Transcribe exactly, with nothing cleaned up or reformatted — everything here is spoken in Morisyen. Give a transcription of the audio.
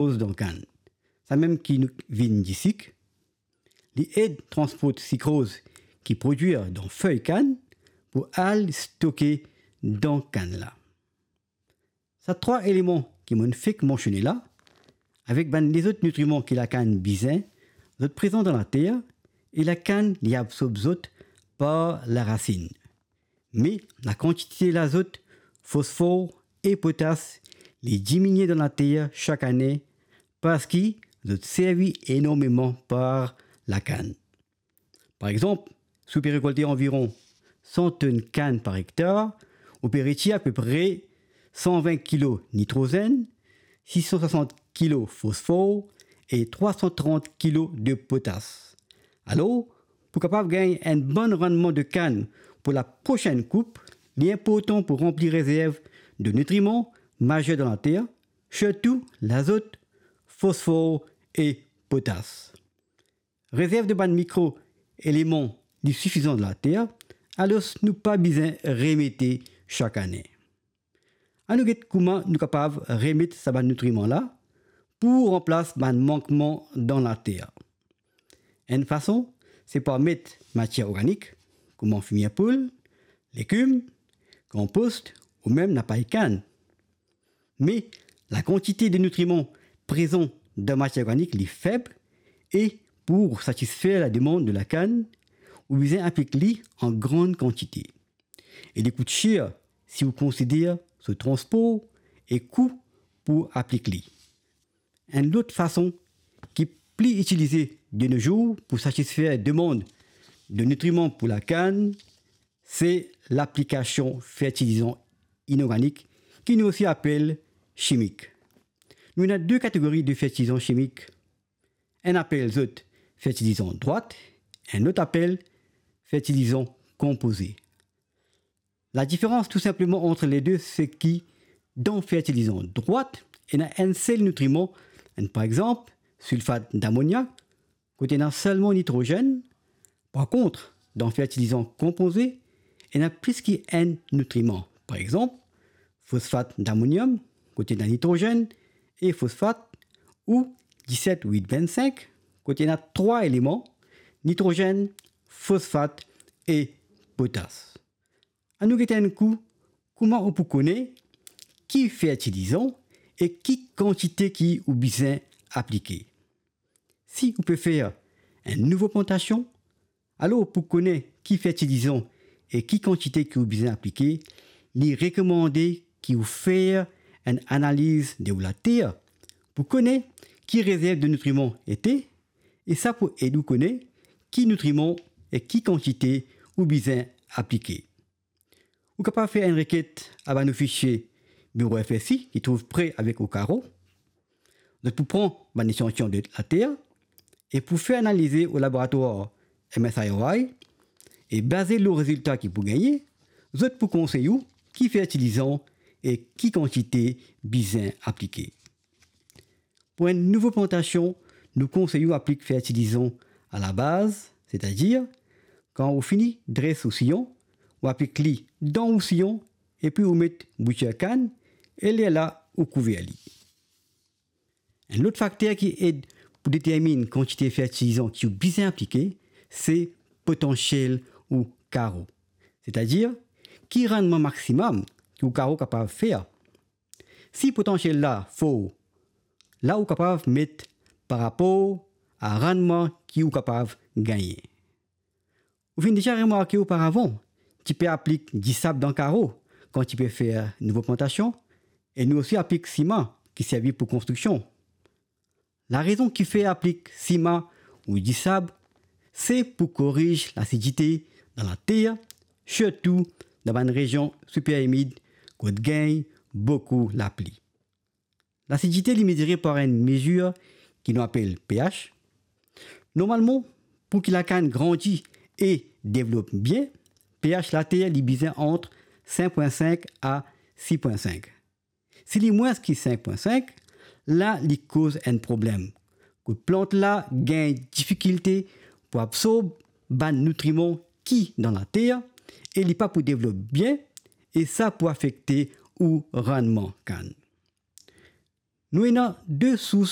sikroz dan kann. Samem ki nou vinn disik, li ed transport sikroz ki prodwir dan fey kann pou al stoke dan kann la. Sa trwa eleman ki mo'nn fek mansione la, avek bann lezot nitriman ki lakann bizin, zot prezan dan later e lakann li absorb zot par larasinn. Me lakantite lazot, fosfor e potas, li diminie dan later sak ane parski zot servi enormeman par lakann. Par exanp, si ou pe rekolte anviron san tonn kann par ektar, ou pe retir apepre san vin kilo nitrozenn, sis san swasant kilo fosfor e trwa san trant kilo de potas. Alor, pou kapav gagn enn bon rannman de kann pou laprosenn koup, li inportan pou ranpli rezerv de nitriman mazer dan later, sirtou lazot, fosfor e potas. Rezerv de bann mikro eleman li sifizan dan later, alor nou pa bizin remete sak ane. Anou get kouma nou kapav remet sa bann nitriman la pou ranplas bann mankman dan later. Enn fason, se par met matier organik, kouma fimir poul, legim, konpos ou mem lapay kann. Me lakantite de nitriman prezan dan matier organik li feb e pou satisfer lademann de lakann, ou bizin aplik li an gran kantite. E li kout ser si ou konsider so transpor e kou pou aplik li. Enn lot fason ki pli itilize de no zour pou satisfer demann de nitriman pou lakann, se laplikasion fertilizan inorganik ki nou osi apel simik. Nou ena de kategori de fertilizan simik. Enn apel zot fertilizan drwat, enn lot apel fertilizan konpoze. Ladiferans tou sinpleman ant le de, se ki dan fertilizan drwat, ena enn sel nitriman, enn par exanp, silfat damoniak, kot ena selman nitrozenn. Par kont, dan fertilizan konpoze, ena plis ki enn nitriman. Par exanp, fosfat damoniam, kot ena nitrozenn, e fosfat, ou diset wit vennsink, kot ena trwa eleman, nitrozenn, fosfat e potas. Anou gete enn kou kouma ou pou kone ki fertilizan e ki kantite ki ou bizin aplike. Si ou pe fer enn nouvo plantasion, alor pou kone ki fertilizan e ki kantite ki ou bizin aplike, li rekomande ki ou fer enn analiz de ou later pou kone ki rezerv de nitriman ete, e sa pou ed ou kone ki nitriman e ki kantite ou bizin aplike. Ou kapav fer enn reket a bann ofisie Biro F S I ki trouv pre avek ou karo. Zot pou pran bann esantion de later e pou fer analize o laboratwar M S I R I, e baze lor rezilta ki pou gagne, zot pou konsey ou ki fertilizan e ki kantite bizin aplike. Pou enn nouvo plantasion, nou konsey ou aplik fertilizan alabaz, setadir, kan ou fini dres ou siyon, ou aplik li dan ou siyon, epi ou met boutir kann, e lerla ou kouver li. Enn lot fakter ki ed pou determinn kantite fertilizan ki ou bizin aplike, se potansiel ou karo. Setadir, ki rannman maximum ki ou karo kapav fer. Si potansiel la for, la ou kapav met par rapor a rannman ki ou kapav gagne. Ou finn deza remarke oparavan, ti pe aplik disab dan karo kan ti pe fer nouvo plantasion, e nou osi aplik sima ki servi pou konstriksion. Larezon ki fer aplik sima ou disab, se pou koriz lasidite dan later, sirtou dan bann rezion siper imid kot gagn boukou lapli. Lasidite li mezire par enn mezir ki nou apel pH. Normalman, pou ki lakann grandi e devlop bien, pH later li bizin ant sink pwin sink a sis pwin sink. Si li mwins ki sink pwin sink, la li koz enn problem. Kot plant la gagn difikilte pou absorb bann nitriman ki dan later e li pa pou devlop bien, e sa pou afekte ou rannman kann. Nou ena de sours